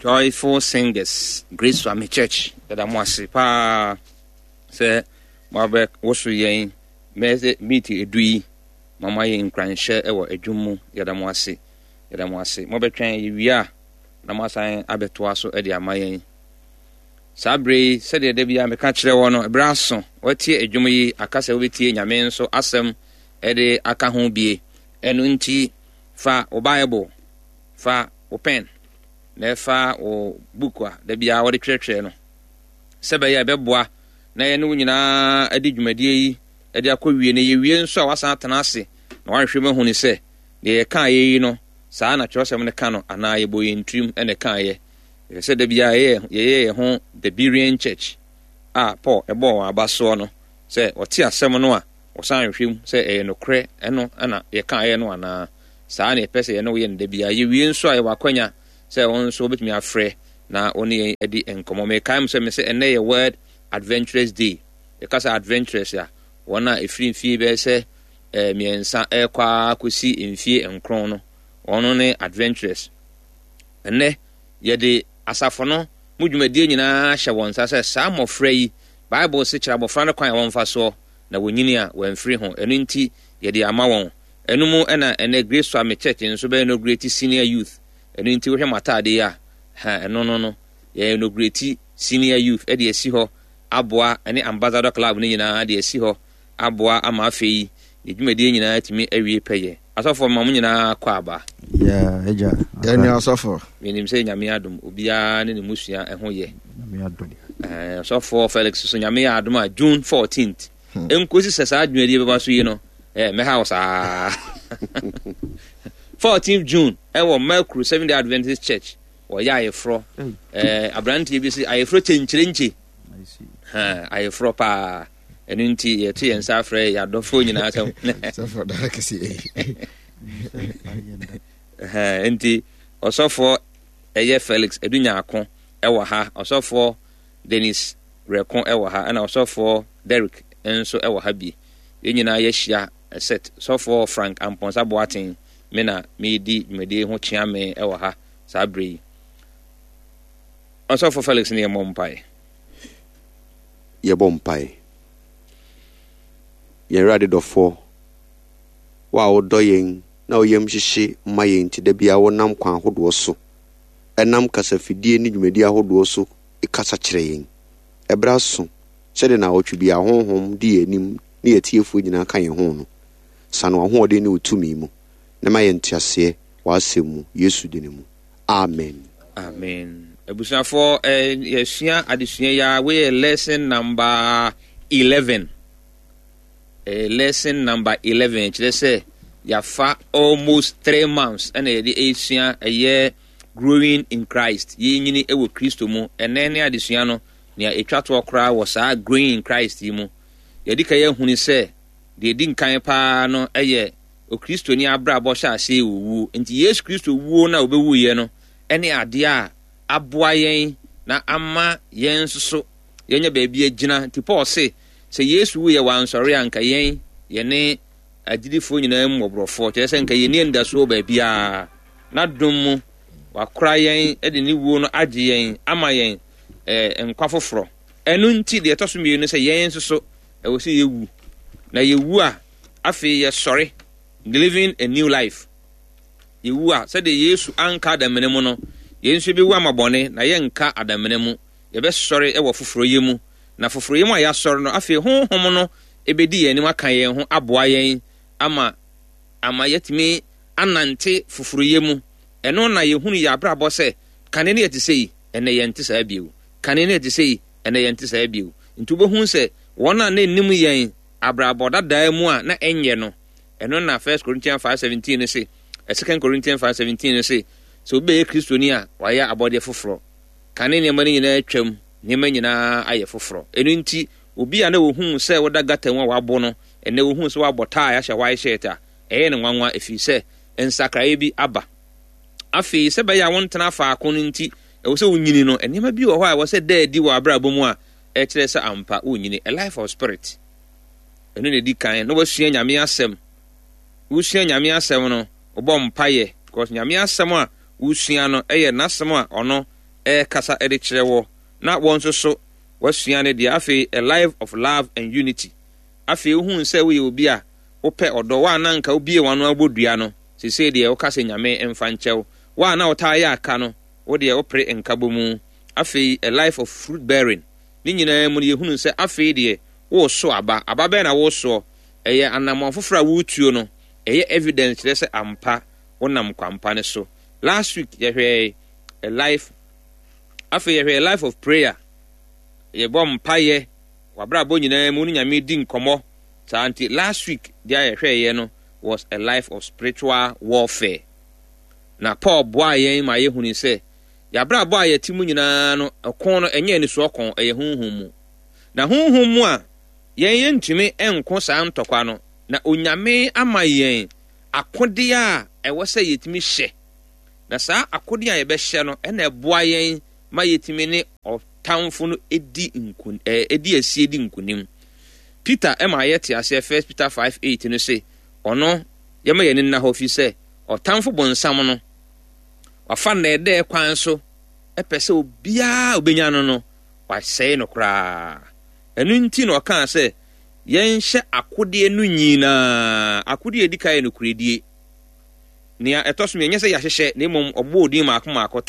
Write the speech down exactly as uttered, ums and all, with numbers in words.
Joyful Singers, Grace Family Church, yɛda mo ase paa sɛ moabɛ woso yɛn mɛsɛ meet edu yi ma moayɛ nkuranhyɛ wɔ adwum mu. Yɛda mo ase, yɛda mo ase. Mobɛtwɛn yɛwie a na moasan abɛtoa so de ama yɛn. Saa bere yi, sɛdeɛ da biara meka kyerɛ wɔ no, ɛberɛ aso watie adwum yi aka sɛ wobɛtie Nyame nso asɛm de aka ho bie. Ɛno nti fa wo Bible, fa wo pen, na ɛfa wo book a da biara wɔde twerɛtwerɛ no, sɛ bɛyɛ a ɛbɛboa na yɛne wo nyinaa adi dwumadie yi de akɔ wie. Na yɛwie nso a, wasan atena ase na wahwehwɛ mu ahu ne sɛ deɛ yɛkaa yɛ yi no, saa na kyerɛwsɛm no ka no anaa yɛbɔ yɛn tirim na ɛkaeɛ. Ɛsɛ sɛ da biara yɛyɛ yɛyɛ yɛn ho the Berean Church a Paul ɛbɔɔ wɔn aba soɔ no, sɛ wɔte asɛm no a, wɔsan hwehwɛ mu sɛ ɛyɛ nokorɛ ɛno ɛna yɛkaeɛ no anaa. Saa na yɛpɛ sɛ yɛne wo yɛ no da biara. Yɛwie nso a, yɛwɔ akwanya sɛ wɔn nso wobɛtumi afrɛ na wɔne yɛn adi nkɔmmɔ. Mekae mu sɛ me sɛ ɛnnɛ yɛ World Adventurous Day. Yɛka sɛ adventurous a, wɔn a ɛfiri mfie bɛyɛ sɛ eh, mmiɛnsa ɛrekɔ ara kɔsi mfie nkron no, wɔn ne adventurous. Ɛnnɛ yɛde asafo no mu dwumadie nyinaa hyɛ wɔn nsa sɛ saa mmɔfra yi, Bible se kyerɛ abɔfra no kwan a wɔmfa soɔ na wɔnyini a wɔamfiri ho. Ɛno nti yɛde ama wɔn. Ɛno mu ɛna ɛnɛ Grace Swami Church nso bɛyɛ inaugurate senior youth. Ɛno nti wohwɛ mo ataade yi a, ha ɛno no no yɛ inaugurate senior youth ɛde asi hɔ aboa ɛne ambassador club no nyinaa de asi hɔ aboa ama afei yɛ dwumadie nyinaa atumi awie pɛyɛ. Asɔfoɔ, ma mo nyinaa kɔ aba. Yeah, agya. Yɛn asɔfo. Menim sɛ Nyame adom, obiara ne ne musua ɛho yɛ. Nyame adom. Eh, ɔsɔfoɔ Felix so, Nyame yɛ adom a, June fourteenth nkosi sɛ saa dwumadie bɛba so yi no, eh, mɛha wo saa. fourteenth June ɛwɔ Mercury Seven Day Adventist Church, wɔyɛ ayeforɔ. Eh, aberanteɛ bi sɛ ayeforɔ kyɛnkyerɛnkye. I see. Ha, ayeforɔ paa. Ɛno nti yɛto yɛn nsa afrɛ yɛ adɔfoɔ nyinaa sɛ Sɔfo dara kɛse. Ɛhɛn, nti ɔsɔfoɔ ɛyɛ Felix Adunyaako ɛwɔ ha, ɔsɔfoɔ Dennis Rɛko ɛwɔ ha, ɛna ɔsɔfoɔ Derek nso ɛwɔ ha bi. Yɛn nyinaa yɛahyia set sɔfoɔ Frank Ampɔnsa Boaten, me na meedi dwumadie ho kyea me ɛwɔ ha saa berɛ yi. Ɔsɔfoɔ Felix ne yɛmmɔ mpae. Yɛbɔ mpae. Yɛn Awurade dɔfoɔ, wo a wodɔ yɛn na wo yam hyehye ma yɛn, nti da biara wonam kwan ahodoɔ so, ɛnam kasafidie ne dwumadi ahodoɔ so kasa kyerɛ yɛn. Ɛberɛ aso sɛdeɛ na awɔtwe bi a Honhom di yɛn anim ne yɛtiefoɔ nyinaa ka yɛn ho no, sane w'ahoɔden ne wo tumi mu na ma yɛn nteaseɛ w'asɛm mu, Yesu din mu, amen. Amen. Abusuafoɔ, eh, yɛsua adesua yi a, weyɛ lesson number eleven. eh, lesson number eleven kyerɛ sɛ yɛafa almost three months ɛna yɛde ɛresua ɛyɛ growing in Christ, yɛnyini ɛwɔ Kristo mu. Ɛnɛ ne adesua no nea ɛtwa toɔ koraa wɔ saa growing in Christ yi mu. Yɛde ka yɛahunu sɛ deɛ ɛdi nkan paa no ɛyɛ Okristoni abrabɔ hyɛ aseɛ wɔ wuo. Nti Yesu Kristo wuo no a wɔbɛwuiɛ no ɛne adeɛ a aboa yɛn na ama yɛn nso so yɛnyɛ baabi agyina. Nti Paul se sɛ Yesu wuyɛ wansɔre a, nka yɛn yɛne agyidifoɔ nyinaa mu mmɔborɔfoɔ, kyerɛ sɛ nka yɛnni anidasoɔ baabiara. Na dom mu wakora yɛn de ne wuo no agye yɛn ama yɛn eh, nkwa foforɔ. Ɛno nti deɛ ɛtɔ so mmienu sɛ yɛn nso so ɛwɔ sɛ yɛwu, na yɛwu a, afei yɛsɔre, living a new life. Yɛwu a, sɛdeɛ Yesu anka adamena mu no, yɛn nso yɛbɛwu ama bɔne na yɛnka adamena mu. Yɛbɛsɔre wɔ foforɔyɛ mu, na foforɔyɛ mu a yɛasɔre no, afei Honhom no ɛbɛdi yɛn anim aka yɛn ho aboa yɛn ama ama yɛatumi anante foforɔyɛ mu. Ɛno na yɛhunu yɛ abrabɔ sɛ kane no yɛte sɛ yi, ɛnɛ yɛnte saa bio. Kane no yɛte sɛ yi, ɛnɛ yɛnte saa bio. Nti wobɛhu sɛ wɔn a na ɛnim yɛn abrabɔ dadaa mu a na ɛnyɛ no, ɛno na First Corinthians five seventeen no se, Second Corinthians five seventeen no se, sɛ obi bɛyɛ Kristoni a, wayɛ abɔdeɛ foforɔ. Kane nneɛma no nyinaa atwam, nneɛma nyinaa ayɛ foforɔ. Ɛno nti obi a na wɔhuu sɛ woda gutter mu a wabo no, ɛnɛ wɔhuu sɛ woabɔ tie ahyɛ white shirt a, ɛyɛ no nwanwa, ɛfiri sɛ nsakraeɛ bi aba. Afei sɛ bɛyɛ a wontena faako no nti, ɛwɔ sɛ wonyini no, nneɛma bi wɔ hɔ a ɛwɔ sɛ da adi wɔ abrabɔ mu a ɛkyerɛ sɛ ampa wonyini, a life of spirit. Ɛno na ɛdi kan na wasua Nyame asɛm. Wosua Nyame asɛm no, wobɔ mpayɛ, because Nyame asɛm a wosua no ɛyɛ n'asɛm a ɔno ɛrekasa de kyerɛ wɔ, na wɔn nso so wɔasua ne deɛ. Afei, a life of love and unity. Afei wohuu sɛ woyɛ obi a wopɛ ɔdɔ. Wo a na anka wobue w'ano abɔ dua no, seesei deɛ woka sɛ Nyame mfa nkyɛ wo. Wo a na wotaa yɛ aka no, wo deɛ wopere nkabɔmu. Afei, a life of fruit bearing. Ne nyinaa mu no, yɛhunu sɛ afei deɛ woreso aba. Aba bɛn na woresoɔ? Ɛyɛ anammɔn foforɔ a woretuo no, ɛyɛ evidence kyerɛ sɛ ampa wonam kwampa no so. Last week yɛhwɛɛ a life, afei yɛhwɛɛ life of prayer. Yɛbɔ mpaeɛ, w'abrabɔ nyinaa mu ne Nyame di nkɔmmɔ. Saa nti last week deɛ a yɛhwɛeɛ no was a life of spiritual warfare. Na Paul boaa yɛn ma yɛhunu sɛ yɛabrabɔ a yɛte mu nyinaa no, ɛko no ɛnyɛ anisoɔ ko, ɛyɛ honhom mu. Na honhom mu a yɛn yɛntumi nko saa ntɔkwa no, na Onyame ama yɛn akodeɛ a ɛwɔ sɛ yɛtumi hyɛ. Na saa akodeɛ a yɛbɛhyɛ no ɛna ɛboa yɛn ma yɛtumi ne ɔtamfo no di nkun ɛɛ di asie di nkunim. Peter ɛma yɛte aseɛ, First Peter five eight no se ɔno yɛma yɛn ani nna hɔ fi sɛ ɔtamfo bonsam no wafa nnɛɛdɛɛ kwan so ɛpɛ sɛ obiara obenya no no wasɛe no koraa. Ɛno nti na ɔkaa sɛ yɛnhyɛ akodeɛ no nyinaa. Akodeɛ a edi kan yɛ nokorɛdie. Nea ɛtɔ so mmienu, nyɛ sɛ yɛahyehyɛ na mmom ɔbɔ odin maako maako.